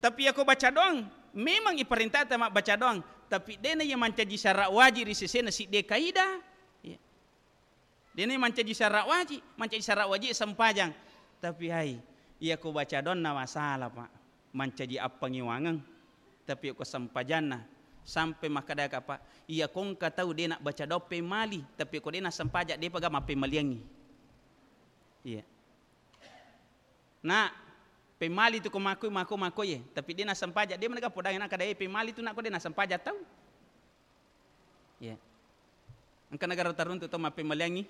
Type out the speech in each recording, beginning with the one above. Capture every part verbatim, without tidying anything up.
Tapi iyako baca doang, memang iparentata mabbaca doang, tapi de'na iya mancaji syarat wajib ri sesena sidde kaidah. Iya. De'na mancaji syarat wajib, mancaji syarat wajib sempajang. Tapi hai, iyako baca doanna masalah, Pak. Mancaji appangiwangeng. Tapi ko sempajanna, sampai makkedaka, Pak, iyako engka tau de' nabbaca doang pemmali, tapi ko de' nassempajang, de'pa ga mappemmaliangngi. Iya. Na pemmali tu ko mako, mako, mako ye, tapi de' nassempajang, de' manega podangi, nakkeda, "Eh, pemmali tu, nakko de' nassempajang tau." Iya. Engka negara taruntu tau mappemmaliangngi.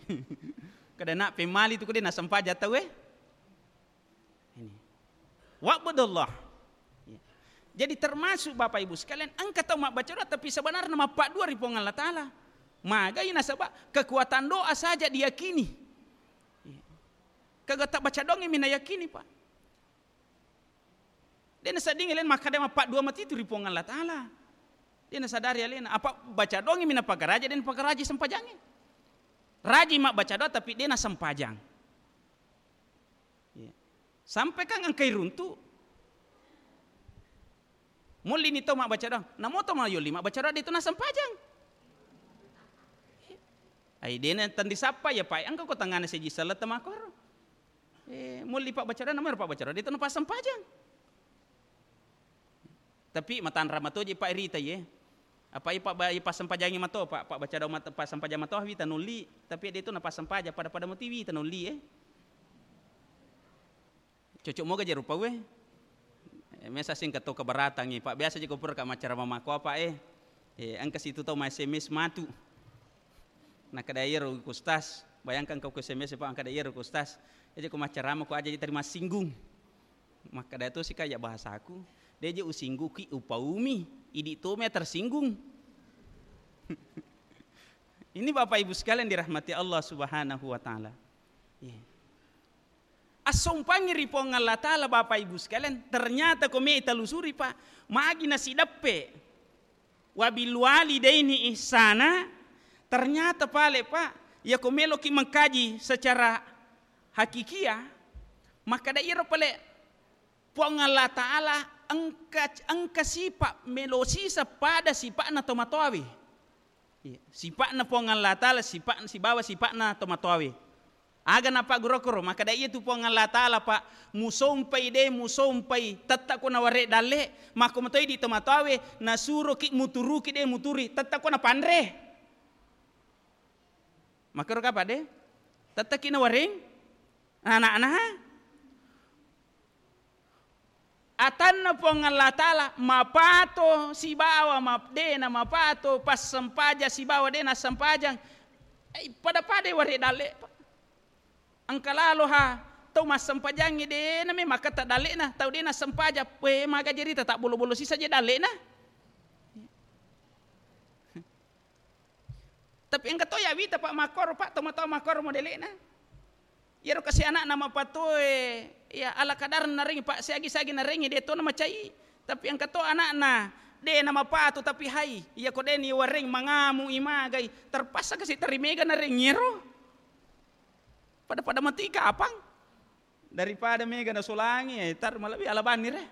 Kada na pemmali tu ko de' nassempajang tau, eh. Ini. Wa'budullah. Iya. Jadi termasuk Bapak Ibu sekalian, engka tau mabbaca doa tapi sebenarnya mappaddua ri Puang Allah Taala. Magai nasaba kekuatan doa saja diyakini. Iya. Kaga tabbaca doangngi mi nayakini, Pak. De' naseddingngi alena makkeda mappaddua matitu ri Puang Allah Taala. De' nasadari alena. Apa baca doangngi mi napagaraja, de' napagaraja sempajangnge. Rajin mabbaca doa tapi de' nasempajang. Iya. Sampai kan engkai runtu. Mullini tau mabbaca doang. Namo tau mayolli mabbaca doang, de' tu nassempajang. Ai, de' na tandisappa ya, Pak. Engka ko tangngana seji selleng tamakkoro. Eh, mullini pabbaca doang, namo ero pabbaca doang, de' tu napassempajang. Tapi matanra matoji, Pak, rita ye. Apa i pabba-, i passempajangi mato, Pak, pabbaca doang mat-, passempajang mato wita nolli, tapi de' tu napassempajang, pada-pada moti wita nolli, eh. Cocok moga je rupa we. Eh, mesa sing keto keberatangngi, Pak. Biasa je ko pura ka maccarama makko apa, eh. Eh, engka situ tau ma S M S matu. Nakkeda iyaro ku Ustaz, bayangkan ko ku S M S, Pak, nakkeda iyaro ku Ustaz. Aja ko maccarama ko aja je terima singgung. Makkeda to sika ya bahasaku, de' je usingguki upaumi, idi' to mea tersinggung. Ini Bapak Ibu sekalian dirahmati Allah Subhanahu wa Ta'ala. Iya. Assompangngi ri Puang Allah Ta'ala, Bapak Ibu sekalian, ternyata ko mei talusuri, Pak, magi nasideppe. Wabil walidaini ihsana, ternyata pale, Pak, iyako meloki mengkaji secara hakikiah, makkeda iyaro pale Puang Allah Ta'ala engka, engka sipa' melo sisa pada sipa'na tomatoawe. Iya, sipa'na Puang Allah Ta'ala, sipa', sibawa sipa'na tomatoawe. Aga napaggurokoro, makkeda iyatu Puang Allah Ta'ala, Pak, musompai de' musompai, tetta' ko naware' dalle', makko matoi di tomatoawe, nasuroki muturuki de' muturi, tetta' ko napanre. Makkero kapa de'? Tetta'ki nawareng ana'na. Atanna Puang Allah Ta'ala mapato sibawa ma-, de' namapato, passempajang sibawa de' nassempajang. Eh, pada-pada ware' dalle', Pak. Engka lalo ha tau massempajangngi de' name makketta dalle'na, tau de' nassempajang, we, maga jerita tabbolo-bolo sisa je dalle'na. Tapi engka to ya wita, Pak, makkoro, Pak, tomatoa makkoro modele'na. Iyaro kasi ana'na mapatoe, ya, ala kadar narengi, Pak, siagi-siagi narengi, de' to namacai. Tapi engka to ana'na, de' namapato, tapi hai, iyako de' ni wareng mangamu i magai, terpaksa kasi teri mega narengi ero. Pada-pada mati kapang. Daripada mega nasolangi, eh, tar malebbi ala banni re.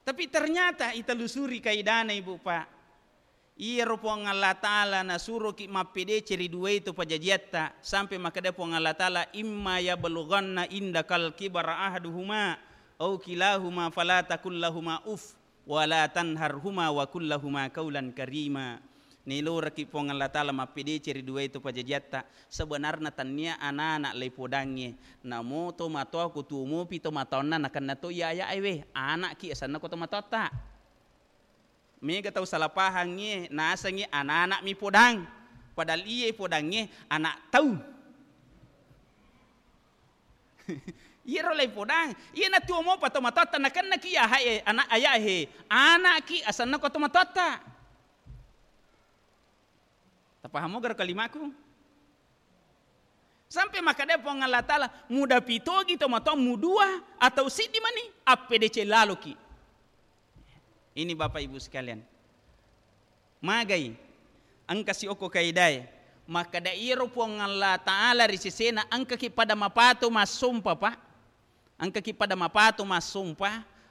Tapi ternyata itelusuri kaidana, Ibu, Pak. Iyaro Puang Allah Ta'ala nasuroki mappedece ri duai to pajajiatta, sampai makkeda Puang Allah Ta'ala, "Imma yablughanna indakal kibara ahaduhuma au kilahuma fala takul lahuma uf, wala tanharhuma wa qul lahuma qaulan karima." Naeloraki Puang Allah Ta'ala mappedece ri duai to pajajiatta, sebenarna tannia anana leipodangnge, namo tomatoa ko tuo mopi tomatoanna nakenna to iya aya'e we, ana'ki asenna ko tomatoatta. Mega tau salah pahangngi, nasengngi anana'mi podang, padahal iye podangnge anak tau. Iyaro laing podang, iyana tuo mopa tomatoatta nakennaki iya hae, ana-, ayahe, ana'ki asenna ko tomatoatta. Tapahamo garo kalimaku? Sampai makkeda Puang Allah Ta'ala, mudapi togi tomatoa mudua atau siddi mani, appedece laloki. Ini Bapak Ibu sekalian. Magai, engka siokko kaidae. Makkeda iyaro Puang Allah Ta'ala ri sesena engkaki pada mapato massompa, Pak. Engkaki pada mapato massompa,